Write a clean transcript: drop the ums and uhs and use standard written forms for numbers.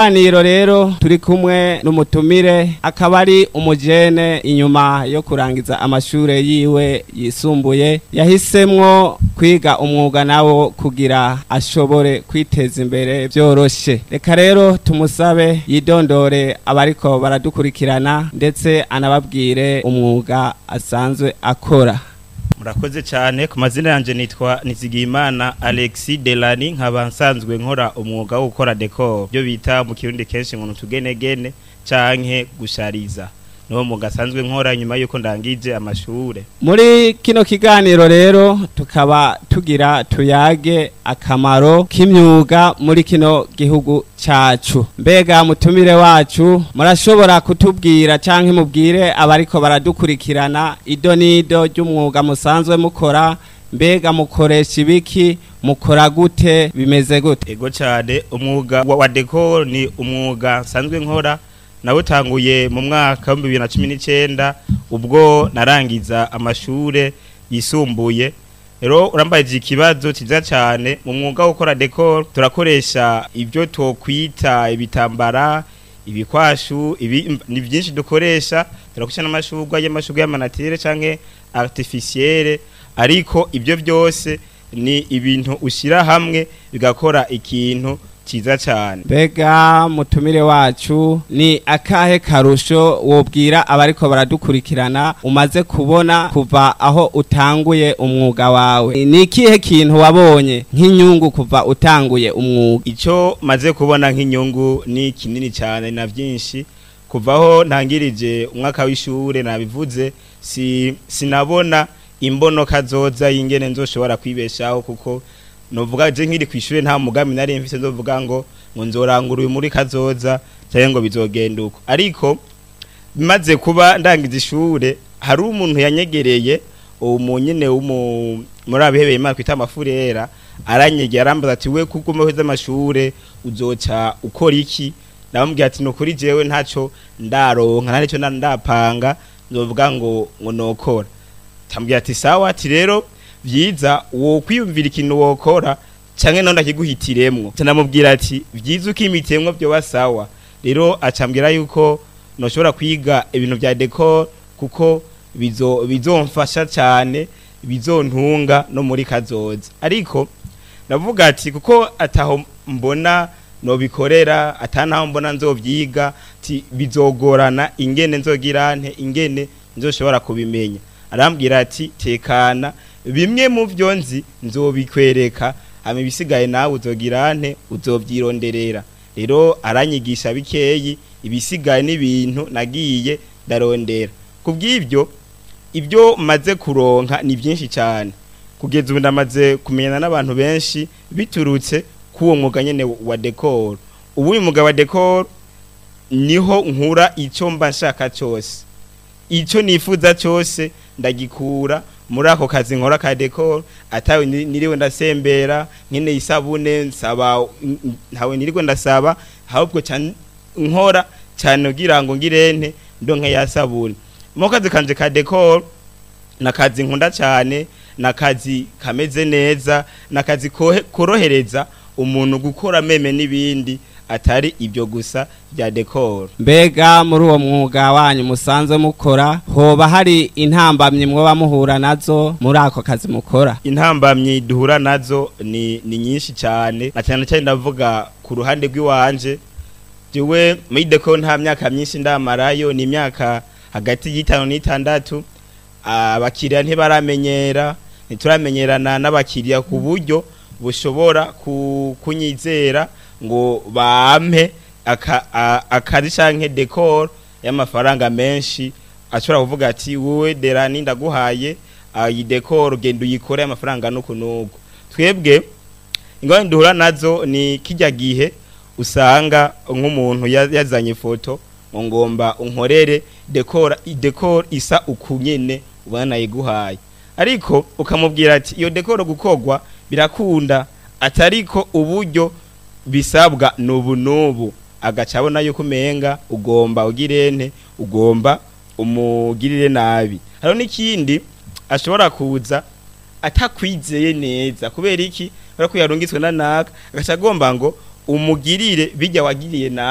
Kiganiro rero turi kumwe n'umutumire, akaba ari umujene. Inyuma yo kurangiza amashure yiwe yisumbuye, yahisemwo kwiga umwuga nawo kugira ashobore kwiteza imbere byoroshe. Reka rero tumusabe yidondore abariko baradukurikirana, ndetse anababwire umwuga asanzwe akora. Murakoze cyane. Ku mazina yanjye nitwa Nizigiyimana Alexis Delani, nkaba nsanzwe nkora umwuga wo gukora décor, byo bita mu Kirundi kenshi ngo tugenegene canke gushariza. Niwo mwuga asanzwe nkora nyuma yuko ndangije amashure. Muri kino kiganiro rero tukaba tugira tuyage akamaro k'imyuga muri kino gihugu cacu. Mbega mutumire wacu, murashobora kutubwira canke mubwire abariko baradukurikirana ido n'ido ry'umwuga musanzwe mukora? Mbega mukoresha ibiki? Mukora gute? Bimeze gute? Ego cyane. Umwuga wa décor ni umwuga nsanzwe nkora, nawutanguye mu mwaka wa 2019 ubwo narangiza amashure yisumbuye. Rero urambaye ikibazo cyiza cyane. Mu mwuga wo gukora décor turakoresha ibyo twokwita ibitambara, ibikwashu, ibi ni byinshi dukoresha. Turakoresha n'amashurwe, y'amashurwe y'ama naturel canke artificiel, ariko ibyo byose ni ibintu ushyira hamwe bigakora ikintu cyiza cyane. Mbega mutumire wacu, ni akahe karusho wobwira abariko baradukurikirana umaze kubona kuva aho utanguye umwuga wawe? Ni ikihe kintu wabonye nk'inyungu kuva utanguye umwuga? Icyo maze kubona nk'inyungu ni kinini cyane na byinshi. Kuvaho ntangirije umwaka w'ishure, nabivuze, si sinabona imbono kazoza y'ingene nzoshobora kwibeshaho, kuko novuga je nkiri kwishure nta mugambi nari mfise nzovuga ngo nzorangura uyu muri kazoza cyangwa ngo bizogenda uko. Ariko bimaze kuba ndangiza ishure, hari umuntu yanyegereye, uwo nyene muri abihebeye Imana kwita amafurera, aranyegera arambaza ati: "We kuko umeheze amashure uzoca ukora iki?" Ndamubwira ati: "Nukuri jewe ntaco ndaronka, nta nico ndapanga nzovuga ngo nokora." Tambwira ati: "Sawa." Ati: "Rero vyiza wo kwiyumvira ikintu wokora canke none ndakiguhitiremwo." Namubwira ati: "Vyiza ukimitemwo byo sawa." Rero acambwira yuko noshobora kwiga ibintu vya décor kuko bizomfasha cyane, bizontunga no muri kazoza. Ariko navuga ati kuko ataho mbona nobikorera, atanaho mbona nzovyiga, ati bizogorana ingene nzogira nte, ingene nzoshobora kubimenya. Arambwira ati: "Tekana, bimwe mu byo nzi nzobikwereka, hama ibisigaye nawe uzogira nte, uzovyironderera." Rero aranyigisha bikeyi, ibisigaye n'ibintu nagiye ndarondera. Kubw'ibyo, ibyo maze kuronka ni byinshi cyane. Kugeza ubu ndamaze kumenyana n'abantu benshi biturutse k'uwo mwuga nyene wa décor. Ubu uyu mwuga wa décor niho nkura icyo mba nshaka cyose, icyo nifuza cyose ndagikura muri ako kazi nkora ka décor, atawe niriwe ndasembera. Nkeneye isabune nsaba, ntawe niriwe ndasaba, ahubwo nkora cyane kugira ngo ngirente ndonke ya sabune. Mu kazi kanje ka décor, nakazi nkunda cyane, nakazi kameze neza, nakazi korohereza umuntu gukora même n'ibindi atari ibyo gusa bya décor. Mbega muri uwo mwuga wanyu musanzwe mukora, hoba hari intambamyi mwoba muhura nazo muri ako kazi mukora? Intambamyi duhura nazo ni nyinshi cyane, na cyane cyane ndavuga ku ruhande rw'iwanje. Jewe muri décor nta myaka myinshi ndamarayo, ni imyaka hagati y'5 n'6. Abakiriya ntibaramenyera, ntituramenyerana n'abakiriya ku buryo bushobora kunyizera ngo bampe akazi canke décor y'amafaranga menshi. Ashobora kuvuga ati: "Wowe Derani, ndaguhaye iyi décor, genda uyikore amafaranga nuku nuku." Twebwe ingorane duhura nazo ni kijya gihe usanga nk'umuntu yazanye ifoto ngo ngomba unkorere décor, décor isa uku nyene ubona nayiguhaye, ariko ukamubwira ati iyo décor gukorwa birakunda, atariko uburyo bisabwa nubu nubu, agaca abona yuko umenga ugomba ugirente, ugomba umugirire nabi. Hariho n'ikindi, ashobora kuza atakwizeye neza. Kubera iki? Kubera ko yarungitswe na naka, agaca agomba ngo umugirire bijya wagiriye naka.